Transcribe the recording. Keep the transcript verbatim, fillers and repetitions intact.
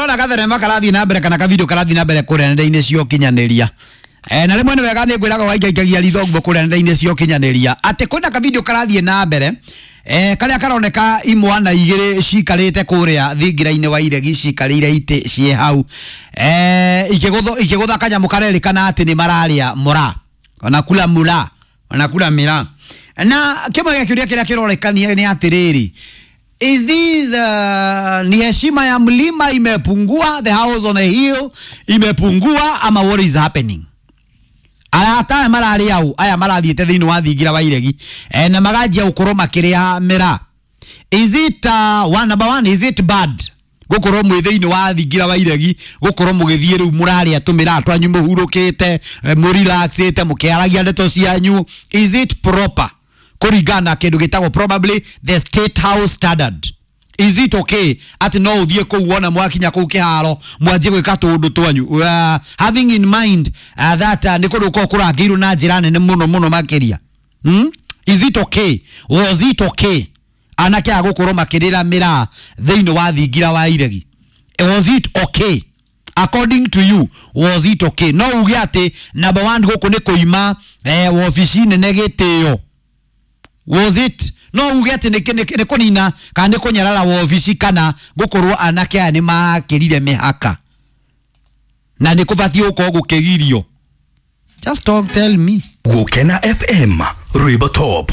Ndĩrona gathenema karathiĩ na mbere kana kavideo karathiĩ na mbere kũrĩa nenda-inĩ cia ũkinyanĩria. Eh, na rĩmwe nĩ wega nĩ ngwĩraga waingaingagia ritho ũguo kũrĩa nenda-inĩ cia ũkinyanĩria atĩ kwĩna kavideo karathiĩ na mbere eh, karĩa karoneka imwana igĩrĩ cikarĩte kũrĩa thingira-inĩ wa iregi, cikarĩire itĩ ciĩ hau eh, ikĩgũthwo ikĩgũtha kanyamũ karerĩkana atĩ nĩ mararĩa mũra, wanakula mura, wanakula mĩraa. Na kĩmwe gĩa kĩũria kĩrĩa kĩrorekania nĩ atĩrĩrĩ, is this uh, ni heshima ya mlima imepungua, the house on the hill imepungua, ama what is happening? Arata aya mararĩ au aya marathiĩte thĩinĩ wa thingira wa iregi eh, na maganjia gũkorwo makĩrĩa mĩraa. Is it uh, one, number one, is it bad gũkorwo mwĩ thĩinĩ wa thingira wa iregi, gũkorwo mũgĩthiĩ rĩu mũrarĩa tũmĩraa twanyu mũhurũkĩte, eh, mũrelaxĩte, mũkĩaragia ndeto cianyu? Is it proper kũringana na kĩndũ gĩtagwo probably the State House standard? Is it okay atĩ no ũthiĩ kũu wona mwakinya kũu kĩharo mwanjie gwĩka tũũndũ twanyu, uh, having in mind uh, that uh, nĩ kũndũ gũkoragwo kũrangĩirwo na njĩra nene mũno mũno makĩria, hmm? Is it okay? Was it okay anake aya gũkorwo makĩrĩra mĩraa thĩinĩ wa thingira wa iregi? Was it okay? According to you, was it okay? No uge atĩ number one gũkũ nĩ kũima eh, wobici nene gĩtĩo. Was it, no uge atĩ nĩ nĩ- nĩ kũnina kana nĩ kũnyarara wobici kana gũkorwo anake aya nĩ makĩrire mĩhaka na nĩ kũbatiĩ gũkorwo gũkĩgirio? Just talk, tell me. Gukena F M, rwimbo top.